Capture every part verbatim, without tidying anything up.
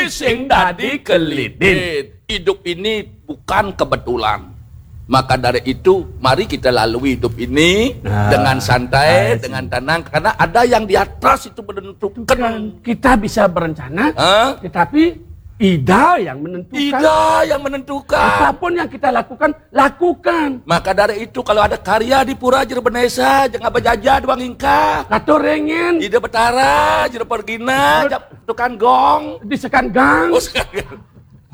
Sing dadi kelidin. Hidup ini bukan kebetulan. Maka dari itu, mari kita lalui hidup ini dengan santai, dengan tenang, karena ada yang di atas itu menentukan. Kita bisa berencana, tetapi Ida yang menentukan. Ida yang menentukan. Apapun yang kita lakukan, lakukan. Maka dari itu, kalau ada karya di pura jero benesa, jangan berjaja doang ingkah. Katur ringin. Ida Betara jero pergina, tukang gong. Di sekan gang. Oh, sekan gang.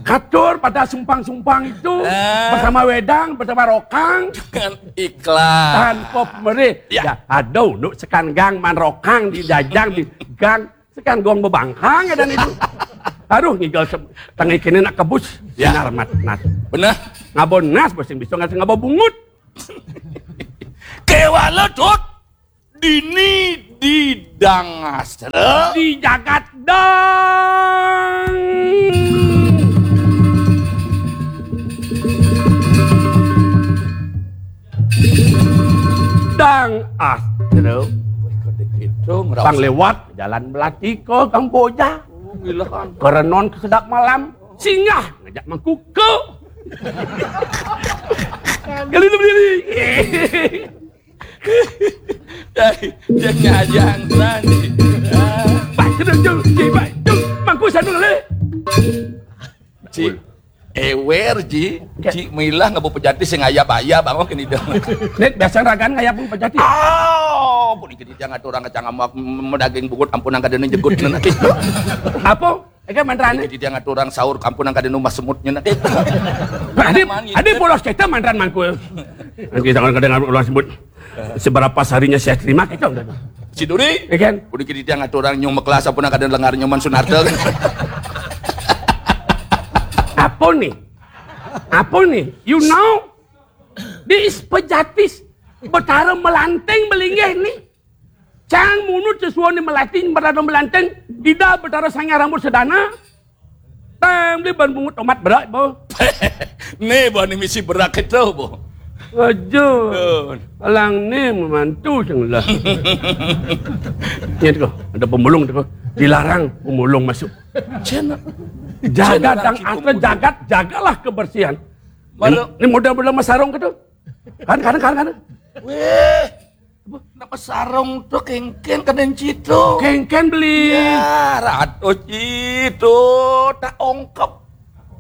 Katur pada sumpang-sumpang itu, bersama wedang, bersama rokang. Dengan ikhlas. Tanpa pemerih. Ya. Ya, aduh, nuk sekan gang man rokang di jajang di gang, sekan gong bebangkang ya dan itu. Aduh, ngigel se-, tengah kini nak kebus. Ya. Sinar mat nas. Benar. Ngabon nas, bosing bisa ngasih ngabon bungut. Kewala, Dut. Dini di Dangastra. Di jagat dang. Dang Astra. Bang lewat jalan Melati ke Kamboja. Kerenon ke sedap malam. Singgah ngajak mangkuka. Kali itu berdiri. Jangan tadi. Baik, kena jeng, jeng, baik, jeng. Mangku sana le. Ci, ewer, Ji. Ci, milah ngabo pejati sing ayap-ayap, bangun kini dah. Nek, biasa ragan ngayap pejati. Oh, pun ikut jangan orang kacang amak, medaging bugut, ampun angkat ini jegut. Apa? Eka mantrane. Jadi dia ngaturang sahur kampung nang kada numah semutnya nak. Adi, adi bolos kita mantran mangkul. Nanti jangan kada ngaturang semut. Seberapa sarinya saya terima kita udah. Si Duri. Ya kan? Udah kita dia ngaturang nyong meklas apa nang kada lengar nyoman Sunarta. Apa nih? Apa nih? You know? Di Pejatis Betara Melanteng belinggih nih. Cang munut sesuai ni melating berada melanteng. Ida Betara Sangya rambut sedana. Tang beli ban bungut tomat berak bo. Ni bo ni misi berak itu bo. Aja. Alang ni memantu sing lah. Ni tu ada pemulung tu. Dilarang pemulung masuk. Cina. Jaga dang asal jagat, jagalah kebersihan. Malu. Ni modal-modal masarong ke tu. Kan, kan, kan, kan. Weh. Napa sarong tu kengken kena citu? Kengken beli. Ya, ratu citu tak ongkep.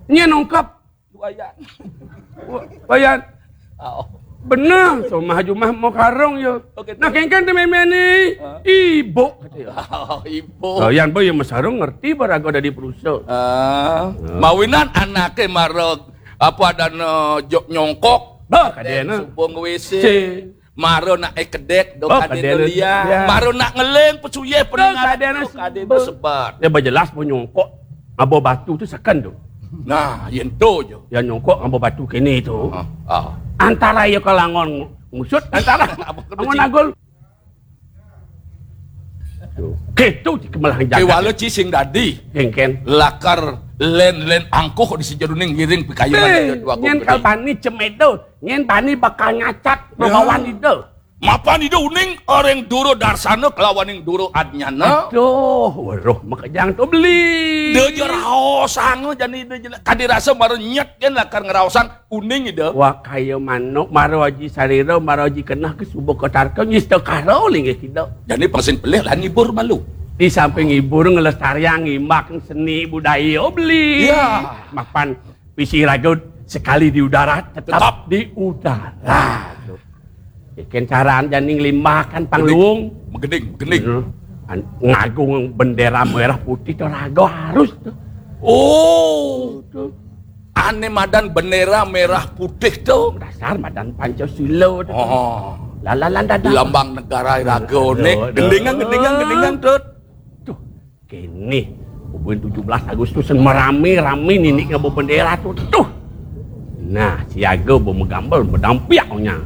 Nyen ongkep. Wayan. Wayan. Oh. Benar, so mah jumah mau karong yo. Oke, nah, kengken tu meme ni. Ibu kata yo. Oh, ibu. Wayan boy yang masarong ngerti barago dari perusahaan. Ah. Mawinan anaknya marok apa ada no jok nyongkok. Bah, kadena. Supung W C. Maro nak ekedek do kadena liang. Maro nak ngeleng pesuye pendengar kadena sebat. Dia berjelas pun nyongkok ngabo batu tu seken tu. Nah, yen tu je. Yang nyongkok ngabo batu kini tu. Antara ya kalangon ngusut antara angon agul. Ketu di kemelah jagat. Kewala ci sing dadi. Kengken. Lakar len-len angkuh di sejeruning ngiring pikayunan. Nyen kalbani cemedo. Nyen bani bakal nyacat mabawan ida. Mapan ida uning orang duro darsana kelawaning duro adnyana. Aduh, weruh makejang tu beli. Dia je raosang jani ida je kadi rasa mara nyet kan lakar ngeraosang uning ida. Wah kaya manuk mara aji sarira mara aji kenah ke subuh ke tarka nyista karo linggih ida. Jani pangsin pelih lah ngibur malu. Di samping ngibur ngelestariang ngimbak seni budaya beli. Ya. Mapan Pisi ragut sekali di udara tetap, tetap di udara. Ikan caran janing limbah kan pangluung. Megening, megening. Ngagung bendera merah putih tu raga harus tu. Oh. Tu. Ane madan bendera merah putih tu. Dasar madan Pancasila tu. Oh. Lalalan dadah. Lambang negara raga ni. Gendingan, gendingan, gendingan tu. Tu. Kini, bubuhan tujuh belas Agustus merame-rame nini ngabo bendera tu. Tuh. Nah, siaga bo megambel medampiak nya.